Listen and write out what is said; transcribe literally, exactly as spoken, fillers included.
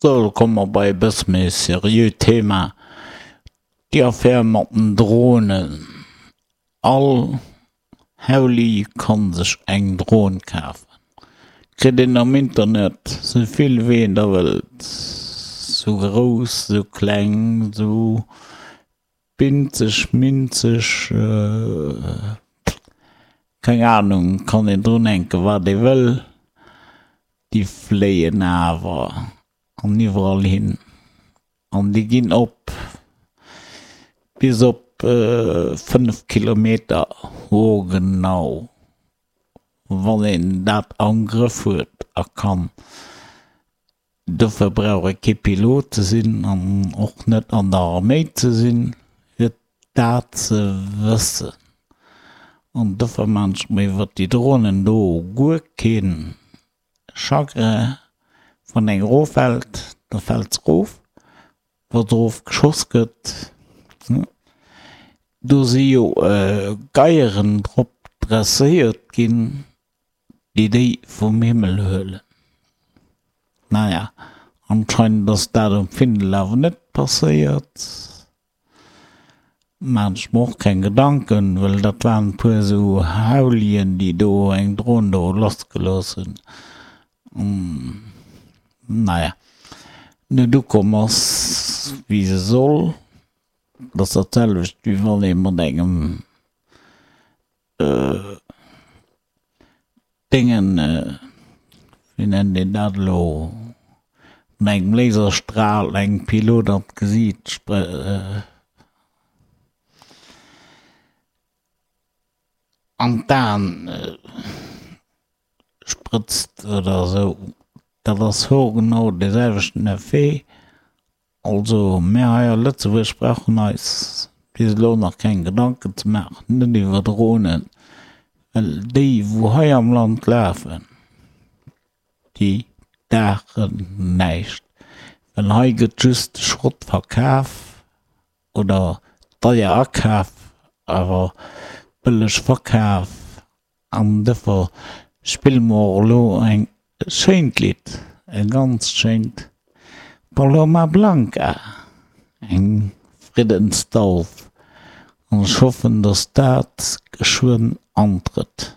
Sou, lo komme mer bei e bësse méi seriöt Thema, déi Affär mat den Dronen. All Hauli kann sech eng Dron kafen. Kritt een am Internet sou vill wéi een der wëllt, sou grouss, sou kleng, sou binzeg, minzeg, keng Ahnung, kann een drun hänken wat ee wëll, déi fléien awer an iwwerall hin an déi ginn op bis op fënnef Kilometer hoergenau. Wann een dat am Grëff huet a kann. Dofir brauch ee kee Pilot ze sinn an och net an der Arméi ze sinn, fir dat ze wëssen. An dofir maan ech mer iwwert déi Dronen do guer kee Chagrin. Wann eng eroffält, da fält se erof. Wa se erofgeschoss gëtt, do si jo Geieren drop dresséiert ginn, déi déi vum Himmel huelen. Naja, anscheinend ass dat um Findel awer net passéiert. Maan ech mer och keng Gedanken, well dat waren e puer esou Haulien, déi do eng Dron do lassgelooss hunn. Naja, net ukomm ass wéi se soll. Dat ass dat selwecht wéi wann ee mat engem Déngen, wéi nennt een dat elo, mat engem Laserstral engem Pilot an d'Gesiit an d'Aen sprëtzt oder esou. Dat ass hoergenau dee selwechten Effet. Also mär hei a Lëtzebuerg brauchen eis bis elo nach keng Gedanken ze maachen, net iwwer Dronen, well déi wou hei am Land lafen, déi daachen näischt, well hei gëtt just de Schrott verkaf oder deier akaf awer bëlleg verkaf. An dofir spille mer och elo eng schéint Lidd, e ganz schéint Paloma Blanca, eng Friddensdauf. An ech hoffen, datt dat geschwënn antrëtt.